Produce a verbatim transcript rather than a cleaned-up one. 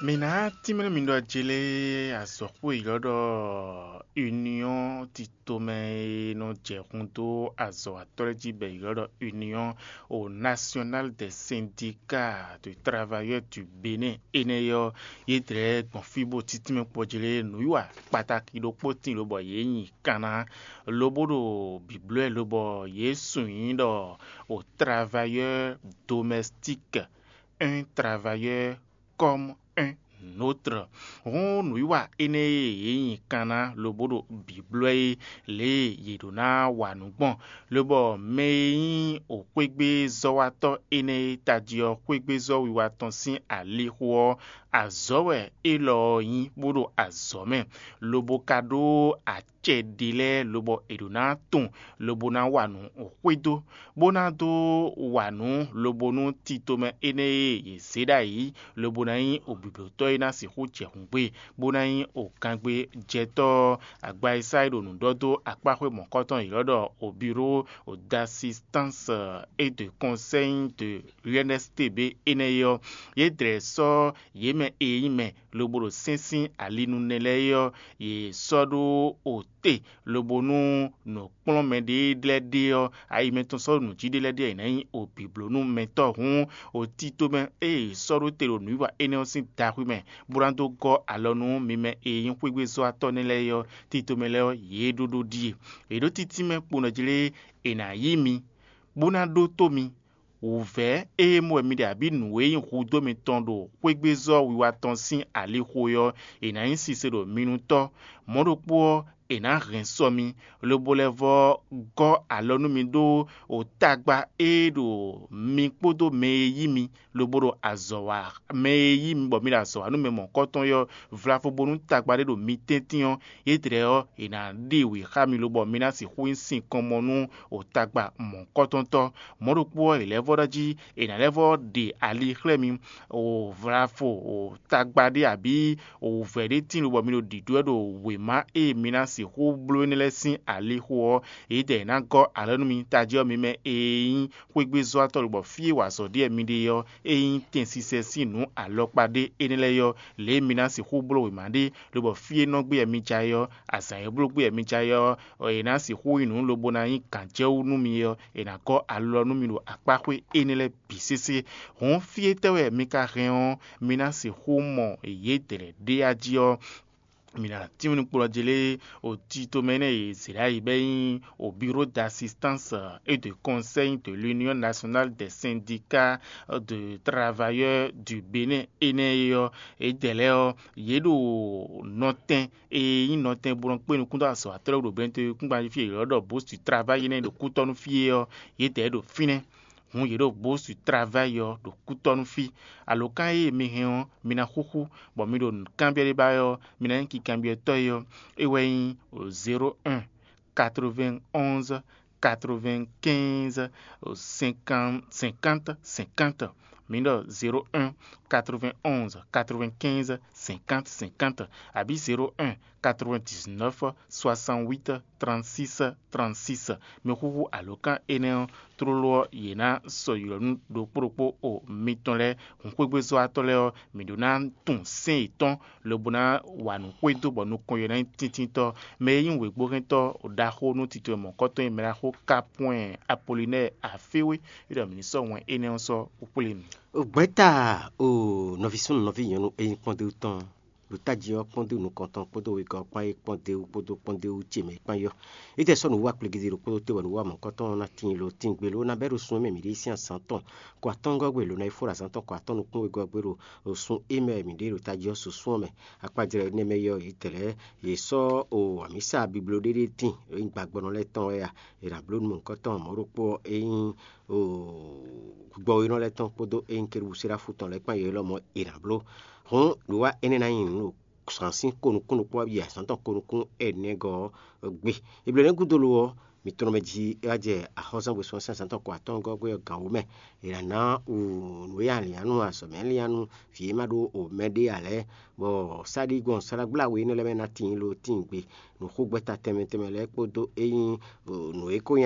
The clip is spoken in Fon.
Mǐ ná tínmɛ mi ɖɔ jlé azɔ̌xwé e ylɔ́ ɖɔ Union titomɛ e nɔ jɛ hun dó azɔ̌watɔ́ lɛ́ɛ jí bɔ è ylɔ́ ɖɔ Union o National des Syndicats de Travailleurs du Bénin énɛ́ ɔ́, yě dlɛ̌ gbɔn fí bó títínmɛ kpɔ́ jlé nǔwiwa kpataki ɖokpó tíin lobɔ yě nyi kan ná, lobo ɖo bǐblɔ́ ɛ lobɔ yě sun nyǐ ɖɔ o travailleur domestique, un travailleur comme un autre. Hǔn nǔwiwa énɛ́ e yě nyi kan ná lobo ɖo bǐblɔ́ é lě e yě ɖó ná wa nǔ gbɔn, lobɔ mɛ e nyí wǒxwégbézɔ́watɔ́ énɛ́ e tají ɔ́ xwégbézɔ́ wiwa tɔn sín alixo ɔ́, azɔ̌ wɛ élɔ́ ɔ́ nyí bó ɖo azɔ̌ mɛ, lobo ka ɖó acɛ ɖé lɛ́ɛ lobɔ è ɖǒ ná tunwun lobo ná wa nǔ xwedó, bó ná dó wa nǔ lobo nú titomɛ énɛ́ e yě zě ɖ'ayǐ lobo ná nyí oblǐblótɔ́ e ná sixú jɛ hǔngbe, bó ná nyí ogangbejɛtɔ́ agbaisa e ɖo nǔ ɖɔ dó akpáxwé mɔ̌kɔtɔn yě lɔ́ ɖɔ obiro d'assistance et de conseil de l'U N S T B énɛ́ é ɔ́, yě dlɛ̌ sɔ́ yě mɛ e nyí mɛ lobo ɖo sɛ́n sín ali nú nɛ lɛ́ɛ é ɔ́, yě sɔ́ ɖó ote, lobo nú nǔkplɔ́nmɛ ɖé lɛ́ɛ ɖe ɔ́, ayi mɛtɔn sɔ́ ɖo nǔ jí ɖé lɛ́ɛ ɖe ɔ́, è nǎ nyí obǐblónúmɛtɔ́ hǔn, otítomɛ e è sɔ́ ɖó te ɖo nǔwiwa énɛ́ ɔ́ sín daxwí mɛ, bó ná dó gɔ́ alɔ nú mi mɛ e nyí xwégbézɔ́watɔ́ nɛ́ lɛ́ɛ é ɔ́, títomɛ lɛ́ɛ ɔ́, yě ɖó ɖó ɖíe. È ɖó títínmɛ kpo nɔ jlé è nǎ yí mi, bó ná ɖótó mi. Wǔvɛ́ e mɔ wɛ mi ɖe abǐ nǔ e nyí hudó mitɔn ɖo xwégbézɔ́ wiwa tɔn sín alixo é ɔ́, è nǎ nyí sise ɖo mi nu tɔ́. Mɔ̌ ɖokpó ɔ́, è nǎ hɛn sɔ mi, lobo lɛ́ vɔ́ gɔ́ alɔ nú mi ɖó o tagba e ɖo mi kpódó mɛ e yí mi, lobo ɖo azɔ̌ wa mɛ e yí mi bɔ mi ɖo azɔ̌ wa nú mɛ mɔ̌kɔtɔn é ɔ́, vlavo bónú tagba ɖé ɖo mi tɛ́ntin ɔ́, yědɛɛ ɔ́, è nǎ ɖe wě xá mi lobɔ mi ná sixú nyí sinkɔnmɔ nú o tagba mɔ̌kɔtɔntɔ́. Mɔ̌ ɖokpó ɔ́, è lɛ́ vɔ́ ɖɔ jí è nǎ lɛ́ vɔ́ ɖe ali xlɛ́ mi, o vlafo o tagba ɖé abǐ o wǔvɛ́ ɖé tíin lobɔ mi ɖo ɖǐɖó wɛ ɖo wěma e mi ná sixú bló énɛ́ lɛ́ɛ sín alixo ɔ́, yědɛɛ è nǎ gɔ́ alɔ nú mi tají ɔ́, mi mɛ e nyí xwégbézɔ́watɔ́ lobɔ fí e wa azɔ̌ ɖe wɛ mi ɖe ɔ́, e nyí tɛnsisɛ sín nǔ alɔkpa ɖé énɛ́ lɛ́ɛ é ɔ́, lě e mi ná sixú bló wěma ɖe, lobɔ fí e nɔ gbé wɛ mi jɛ ayɛ ɔ́, azǎn e bló gbé wɛ mi jɛ ayɛ ɔ́, è nǎ sixú nyí nǔ lobo ná nyí gǎnjɛwú nú mi ɔ́, è nǎ gɔ́ alɔ nú mi ɖo akpáxwé énɛ́ lɛ́ɛ bǐ sésé. Hǔn fí e tɛ́ wɛ mi ka hɛn ɔ́, mi ná sixú mɔ yědɛɛ ɖé a jí ɔ́, mi ná tínmɛ nukplɔ́njí lé o tito mɛ énɛ́ e Zerayibɛ nyí o Bureau d'assistance et de conseil de l'Union nationale des syndicats de travailleurs du Bénin énɛ́ é ɔ́, yědɛɛ lɛ́ɛ ɔ́, yě ɖo nɔtɛn e nyí nɔtɛn bo nɔ kpé nukún dó azɔ̌watɔ́ lɛ́ɛ ɖo Bɛnɛtɔ́ kúngban jí fí e è ylɔ́ ɖɔ Bostu Travayi nɛ́ ɖo kútɔ́ nú fí é ɔ́, yědɛɛ ɖo fínɛ́. Hǔn yě ɖo Bostu Travayi ɔ́ ɖo kútɔ́ nú fí. Alǒkan e mi hɛn ɔ́, mi ná xúxú, bɔ mi ɖo nǔkanbyɔ́ ɖé ba wɛ ɔ́, mi ná nyí kinkanbyɔ́tɔ́ é ɔ́, é wɛ nyí zéro un quatre-vingt-onze quatre-vingt-quinze cinquante cinquante cinquante. Mi ɖɔ zéro un quatre-vingt-onze quatre-vingt-quinze cinquante cinquante, abǐ zéro un quatre-vingt-dix-neuf soixante-huit trente-six trente-six. Mi xúxú alǒkan énɛ́ ɔ́, tlóló ɔ́, yě ná sɔ́ ylɔ́ nú ɖokpó ɖokpó o mitɔn lɛ́ɛ. Hǔnxwégbézɔ́watɔ́ lɛ́ɛ ɔ́, mǐ ɖó ná tunwun sɛ́n yětɔn lobo ná wa nǔ xwedó bɔ nukɔn yě ná nyí tíntítɔ́. Mɛ e nyí wěgbóhɛntɔ́ ɖaxó nú tito e mɔ̌kɔtɔn e mɛ ɖaxó Kapwɛn Apolinɛ́ɛ Aféwé, é ɖɔ mǐ ní sɔ́ wɛn énɛ́ ɔ́ sɔ́ kpókplé mì. Gbɛ̌ta o nɔví súnnu nɔví nyɔ̌nu e nyí kpɔ́ndéwú tɔn ɖo tají ɔ́ kpɔ́ndéwú nukɔntɔn kpódó wegɔ́ kpán é kpɔ́ndéwú kpódó kpɔ́ndéwú ce mɛ é kpán yɔ́. Ítɛ́ sɔ́ nǔwiwa kplégídé ɖokpó ɖó te bɔ nǔwiwa mɔ̌kɔtɔn ɔ́ ná tíin lo tíngbe ló ná bɛ́ ɖo sun e mɛ mǐ ɖe sín azǎn tɔn kɔ atɔ́ngɔ́ gbe lǒ ná yi fó ɖo azǎn tɔn kɔ atɔ́ nukún wegɔ́ gbe ɖo sun e mɛ mǐ ɖe ɖo tají ɔ́ susú ɔ́ mɛ. Akpajlɛ́ énɛ́ mɛ yɔ́ yě tɛlɛ́ yě sɔ́ o amǐsa bibló ɖé ɖé tíin e nyí gbagbɔnɔ lɛ́ɛ tɔn wɛ a? È nǎ bló nú mɔ̌hunkɔtɔn mɔ̌ ɖokpó ɔ́, é nyí gbɔwénɔ lɛ́ɛ tɔn kpódó é nyí kérubúserafu tɔn lɛ́ɛ kpán yě lɔmɔ̌ è nǎ bló. Hǔn nǔwiwa énɛ́ ná nyí nǔ ɖo zǎn sín ko nukún ɖokpó yi azǎn tɔn ko nukún ɛnɛgɔ́ ɔ́ gbe. Eblo énɛ́ gúdo lo ɔ́, mǐ tɔn mɛ jí é wá jɛ axɔ́zán gbesú ɔ́ sín azǎn tɔn ko atɔ́ɔ́ngɔ́ gbé ɔ́ gǎn wú mɛ. È nǎ ná wu nǔ e aliǎnu azɔ̌mɛ liánu vǐ e ma ɖó o mɛ ɖé ǎ lɛ́ɛ, bɔ sáɖígbɔn sálágbláwe énɛ́ lɛ́ɛ mɛ ná tíin lo tíin gbe. Nǔxogbɛ́ta tɛnmɛ tɛnmɛ lɛ́ɛ kpódó é nyí nǔ e ko nyí